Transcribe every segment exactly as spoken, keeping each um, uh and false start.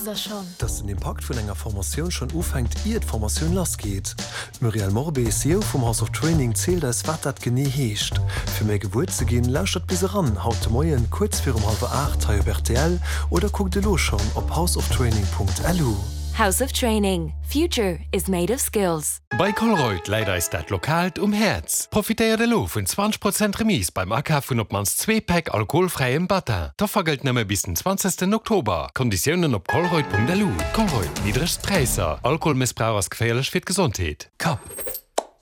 Wousst der schonn? Dass den Impakt vun enger Formatioun schonn ufänkt, ier d'Formatioun lassgeet? D'Muriel Morbé, C E O vum House of Training, zielt eis, wat dat genee heescht. Fir méi gewuer ze ginn, lauschtert bis eran haut de Moien kuerz virum hallwer aacht hei op R T L oder kuckt elo schonn op houseoftraining Punkt L U. House of Training. Future is made of skills. Bei Colruyt läit eis dat Lokaalt um Häerz. Profitéiert elo vun zwanzeg Prozent Remise beim Akaf vun op d'mannst zwee Päck alkoholfräiem Battin. D'Offer gëllt nëmme bis den zwanzegsten Oktober. Konditiounen op colruyt Punkt L U. Colruyt, niddregst Präisser. Alkoholmëssbrauch ass geféierlech fir d'Gesondheet. Kapp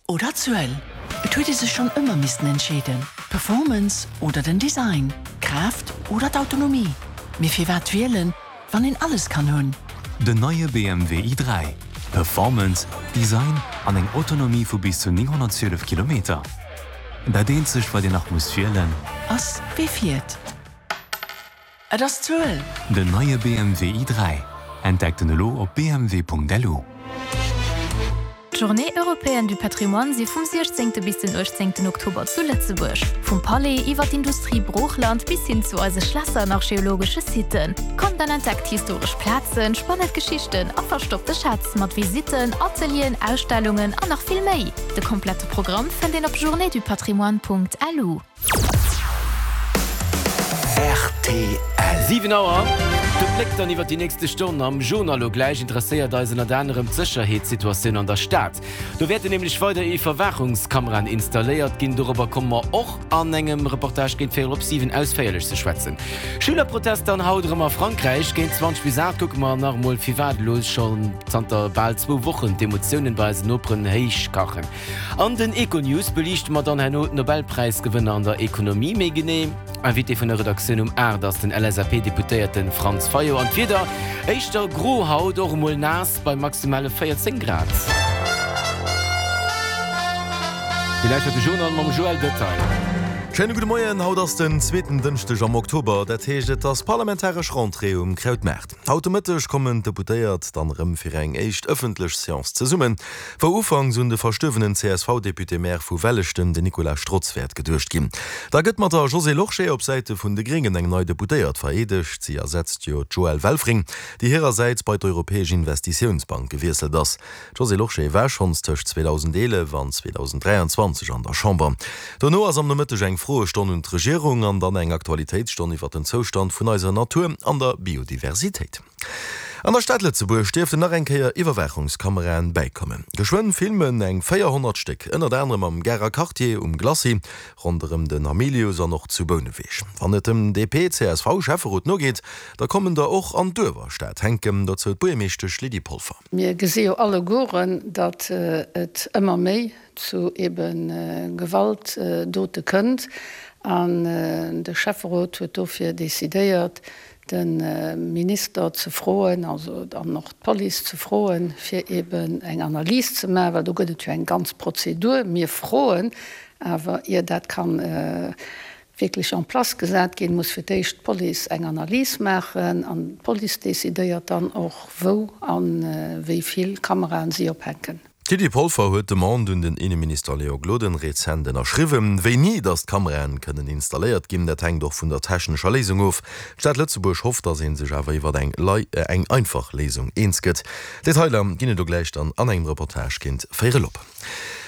oder Zuel? Et huet ee sech schonn ëmmer missten entscheeden. Performance oder den Design? Kraaft oder d'Autonomie? Mee firwat wielen, wann een alles kann hunn? Den neie B M W i dräi. Performance, Design an eng Autonomie vu bis zu nénghonnertzwielef Kilometer. Dat eenzegt, wat een nach muss wielen, ass wie fiert. Et ass d'Zuel. Den neie B M W i dräi. Entdeckt en elo op B M W Punkt L U. D'Journées européennes du patrimoine si vum siechzéngte bis den uechtzéngten Oktober zu Lëtzebuerg. Vum Palais iwwer d'Industrie-Broochland bis hin zu eise Schlässer an archeologesche Siten. Kommt an entdeckt historesch Plazen, spannend Geschichten a verstoppte Schätz mat Visitten, Atelieren, Ausstellungen an nach vill méi. De komplette Programm fënnt een op journéesdupatrimoine Punkt L U. R T L. siwen Auer. De Bléck dann iwwer déi nächste Stonn am Journal. Lo gläich interesséiert eis ënnert anerem d'Sécherheetssituatioun an der Stad. Do wäerten nämlech weider Iwwerwaachungskameraen installéiert ginn. Dorobber komme mer och an engem Reportage géint véierel op siwen ausféierlech ze schwätzen. Schülerprotester an haut erëm a Frankräich. Géint zwanzeg bis aacht kucke mer nach emol, firwat elo schonn zanter bal zwou Wochen d'Emotiounen bei eisen Noperen héichkachen. An den Econews beliichte mer dann herno d'Nobelpräisgewënner an der Ekonomie méi genee. Invité vun der Redaktioun um aacht ass den L S A P-Deputéierte Franz Fayot. An d'Wieder, éischter gro haut, och emol naass bei maximale véierzéng Grad. Dir lauschtert de Journal mam Joël Detail. Schéine gudde Moien, haut ass den zweeten Dënschdeg am Oktober, dat heescht et ass parlamentaresch Rentrée um Krautmaart. Haut de Mëtteg kommen d'Deputéiert dann erëm fir eng éischt ëffentlech Seance zesummen, wou ufanks un de verstuerwenen C S V-Député-Maire vu Welleschten, den Nicolas Strotz, wäert geduecht ginn. Da gëtt mat der Josée Lorsché op Säite vun de Gréngen eng nei Deputéiert vereedegt. Si ersetzt jo d'Joëlle Welfring, déi hirersäits bei d'Europäesch Investitiounsbank gewiesselt ass. D'Josée Lorsché war schonns tëscht zweedausendeelef an zweedausenddräianzwanzeg an der Chamber. Dono ass am Nomëtteg eng Froestonn un d'Regierung an dann eng Aktualitéitsstonn iwwer den Zoustand vun eiser Natur an der Biodiversitéit. An der Stad Lëtzebuerg dierften nach eng Kéier Iwwerwaachungskameraen bäikommen. Geschwënn filmen eng véierhonnert Stéck, ënnert anerem am Garer Quartier, um Glacis, ronderëm den Hamilius an och zu Bouneweg. Wann et dem D P C S V-Schäfferot nogeet, da kommen der och an d'Uewerstad hänken, dozou d'Buergermeeschtesch Lydie Polfer. Mir gesi jo allegueren, datt et ëmmer méi zu ebe Gewaltdote kënnt, an de Schäfferot huet dofir decidéiert, de Minister ze froen, also dann och d'Police ze froen, fir eben eng Analys ze maachen, well do gëtt et jo eng ganz Prozedur. Mir froen, awer ier dat kann wierklech en place gesat ginn, muss fir d'éischt d'Police eng Analys maachen, an d'Police decidéiert dann och, wou a wéi vill Kameraen si ophänken. D'Lydie Polfer huet d'Demande un den Inneminister Léon Gloden rezent ënnerschriwwen. Wéini datt d'Kameraen kënnen installéiert ginn, dat hänkt och vun der technescher Léisung of. D'Stad Lëtzebuerg hofft, datt ee sech awer iwwer eng eng einfach Léisung eens gëtt. Detailer ginn et do gläich dann an engem Reportage géint véierel op.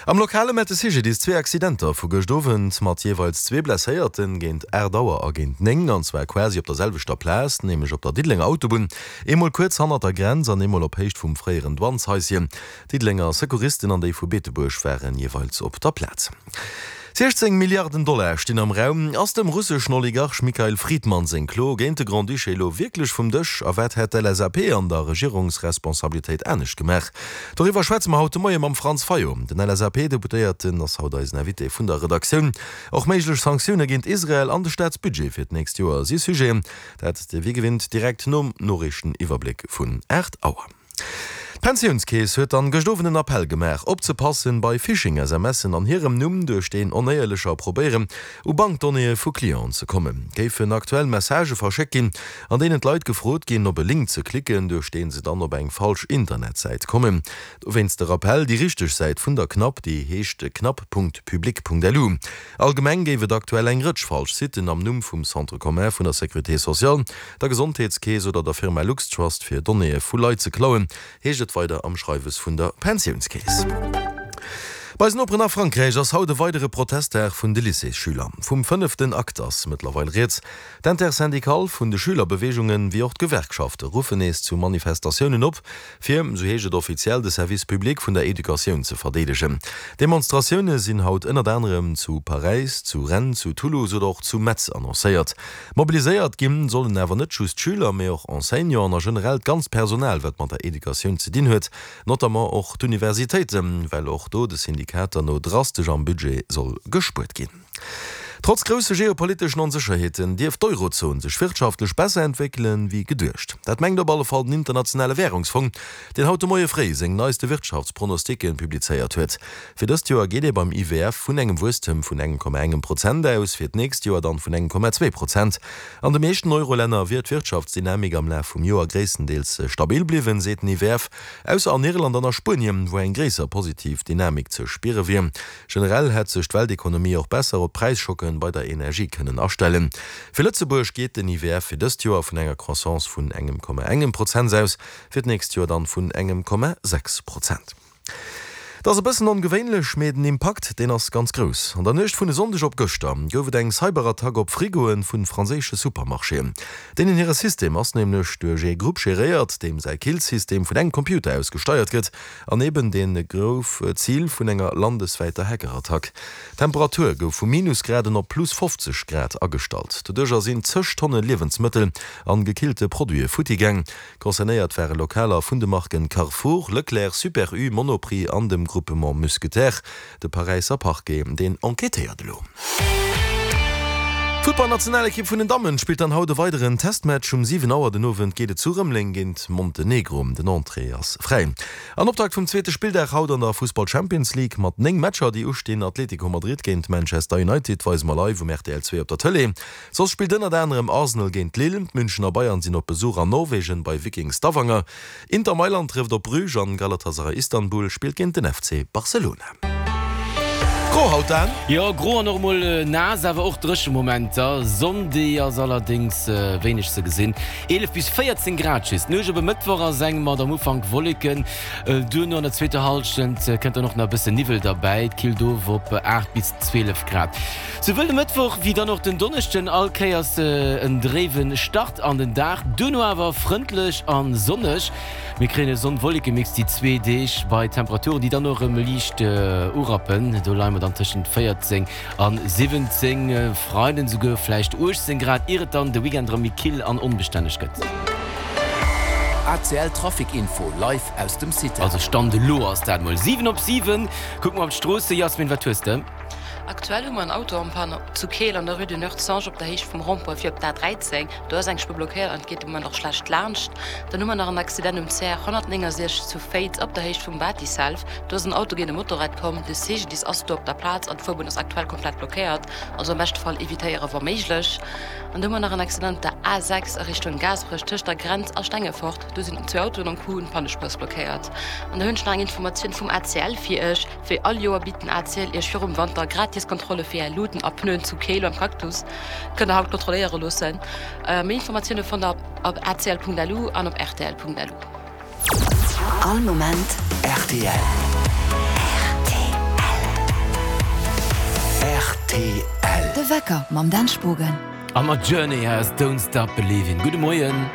Am Lokale mellt de C G D I S zwee Accidenter vu gëscht Owend mat jeeweils zwee Blesséierten, géint aacht Auer a géint néng, an zwar quasi op der selwechter Plaz, nämlech op der Diddelenger Autobunn, eemol kuerz hannert der Grenz an eemol op Héicht vum fréieren Douaneshaischen. D'Diddelenger Secouristen an déi vu Beetebuerg waren jeeweils op der Plaz. siechzéng Milliarden Dollar stinn am Raum. Ass dem russeschen Oligarch Mikhail Fridman seng Klo géint de Grand-Duché elo wierklech vum Dësch? A wat hätt d'L S A P an der Regierungsresponsabilitéit anescht gemaach? Doriwwer schwätze mer haut de Moie mam Franz Fayot. Den L S A P-Deputéierten ass haut eisen Invité vun der Redaktioun. Och méiglech Sanktioune géint Israel an de Staatsbudget fir d'nächst Joer si Sujeten. Dat wéi gewinnt direkt nom Noriichteniwwerbléck vun aacht Auer. D'Pensiounskeess huet dann gëscht Owend en Appell gemaach, opzepassen bei Phishing-SMSen an hirem Numm, duerch deen Onéierlecher probéieren, u Bankdonnéeë vu Clienten ze kommen. Géifen aktuell Messagë verschéckt ginn, an deenen d'Leit gefrot ginn, op e Link ze klicken, duerch dee se dann op eng falsch Internetsäit kommen. Dowéinst de Rappell, déi richteg Säit vun der CNAP, déi heescht cnap.public.lu. Allgemeng géif et aktuell eng Rëtsch falsch Sitten am Numm vum Centre commun vun der Sécurité sociale, der Gesondheetskeess oder der Firma LuxTrust fir Donnéeë vu Leit ze klauen, heescht et weider am Schreiwes vun der Pensiounskeess. Bei eisen Noperen a Frankräich ass haut e weidere Protestdag vun de Lycéesschüler. Vum fënneften Akt ass mëttlerweil rieds. D'Intersyndicale vun de Schülerbeweegungen, wéi och d'Gewerkschafte ruffen nees zu Manifestatiounen op, fir, sou heescht et offiziell, de Service public vun der Educatioun ze verdeedegen. Demonstratioune sinn haut ënnert anerem zu Paräis, zu Rennes, zu Toulouse oder och zu Metz annoncéiert. Mobiliséiert ginn sollen awer net just d'Schüler, mee och Enseignanten a generell d'ganzt Personal, wat mat der Educatioun ze dinn huet, notamment och d'Universitéiten, well och do de Syndikater no drastesch am Budget soll gespuert ginn. Trotz grousse geopoliteschen Onsécherheeten dierft d'Eurozon sech wirtschaftlech besser entwéckelen, wéi geduecht. Dat mengt op alle Fall den Internationale Wärungsfong, deen haut de Moie fréi seng neiste Wirtschaftspronosticken publizéiert huet. Fir dëst Joer geet ee beim I W F vun engem Wuesstem vun engem Komma engem Prozent aus, fir d'nächst Joer dann vun engem Komma zwee Prozent. An de meeschten Eurolänner wier d'Wirtschaftsdynamik am Laf vum Joer gréisstendeels stabil bliwwen, seet den I W F, ausser an Irland an a Spuenien, wou eng gréisser positiv Dynamik ze spiere wier. Generell hätt sech d'Weltekonomie och besser op d'Präisschocken bei der Energie kënnen astellen. Fir Lëtzebuerg geet den I W F fir dëst Joer vun enger Croissance vun engem Komma engem Prozent aus, fir d'nächst Joer dann vun engem Komma sechs Prozent. Et ass e bëssen ongewéinlech, mee den Impakt, deen ass ganz grouss. An der Nuecht vun e Sonndeg op gëschter gouf et eng Cyberattack op Frigoe vu franséische Supermarchéen. Deenen hire System ass nämlech duerch ee Grupp geréiert, deem säi Killsystem vun engem Computer aus gesteiert gëtt, an eben dee gouf Zil vun enger landeswäiter Hackerattack. D'Temperatur gouf vu Minusgraden op plus fofzeg Grad agestallt. Doduercher sinn zeg Tonne Liewensmëttel an gekillte Produite futti gaang. Concernéiert ware Lokaler vun de Marken Carrefour, Leclerc, Super U, Monoprix an dem Groupement Mousquetaires. De Paräisser Parquet, deen enquêtéiert elo. D'Futtballnationalekipp vun den Dammen spillt dann haut e weideren Testmatch. Um siwen Auer den Owend geet et zu Rëmeleng géint Montenegro. Den Entrée ass fräi. An Optakt vum zweete Spilldag haut an der Fussball-Champions League mat néng Matcher déi ustinn, Atlético Madrid géint Manchester United weise mer live um R T L zwee op der Tëlee. Soss spillt ënnert anerem Arsenal géint Lille, d'Münchener Bayern sinn op Besuch an Norwegen bei Viking Stavanger, Inter Mailand trëfft op Bruges an Galatasaray Istanbul spillt géint den F C Barcelona. Gro haut dann? Jo, gro an och mol naass, awer och dréche Momenter. Sonn, déi ass allerdéngs wéineg ze gesinn. eelef bis véierzéng Grad just. D'Nuecht op e Mëttwoch ass eng mat am Ufank Wolleken, duerno an der zweeter Hallschent kënnt dann och nach e bëssen Niwwel derbäi. Et killt of op aacht bis zwielef Grad. Souwuel de Mëttwoch wéi dann och den Donneschden all Kéiers en dréiwe Start an den Dag, duerno awer frëndlech a sonneg. Mir kréien e Sonn-Wolleke-Mix déi zwee Deeg bei Temperaturen, déi dann och erëm liicht urappen. Do leie mer dann tëschent véierzéng a siwwenzéng, Freiden esouguer vläicht uechtzéng Grad, ier et dann de Weekend erëm méi kill an onbestänneg gëtt. A C L Trafic Info live aus dem CITAL. Also Stand elo ass dat mol siwen op siwen. Kucke mer op d'Stroosse. Jasmin, wat hues de? Aktuell hu mer en Auto en panne zu Keel an der Rue de Nertsange op der Héicht vum Rond-point fir op d'A dräizéng. Do ass eng Spuer blockéiert an et geet de Moment och schlecht laanscht. Dann hu mer nach en Accident um C R honnertnéngensechzeg zu Féiz op der Héicht vum Batiself. Do ass en Auto géint e Motorrad komm. De C G D I S ass do op der Plaz an d'Fuerbunn ass aktuell komplett blockéiert. Also am beschte Fall evitéiere wa méiglech. An do hu mer nach en Accident op der A sechs a Richtung Gaasperech tëscht der Grenz a Stengefort. Do sinn zwee Autoen am Coup, d'Pannespuer ass blockéiert. An da hunn ech nach eng Informatioun vum A C L fir iech. Wéi all Joer bitt den A C L iech virum Wanter gratis Kontrolle fir är Luuten a Pneuen zu Keel beim Cactus. Kënnt der haut kontrolléiere loossen. Méi Informatioune fannt der op acl Punkt L U an op R T L Punkt L U. All Moment R T L. R T L. De Wecker mam Dan Spogen. A mat Journey aus Don't Stop Believin'. Gudde Moien.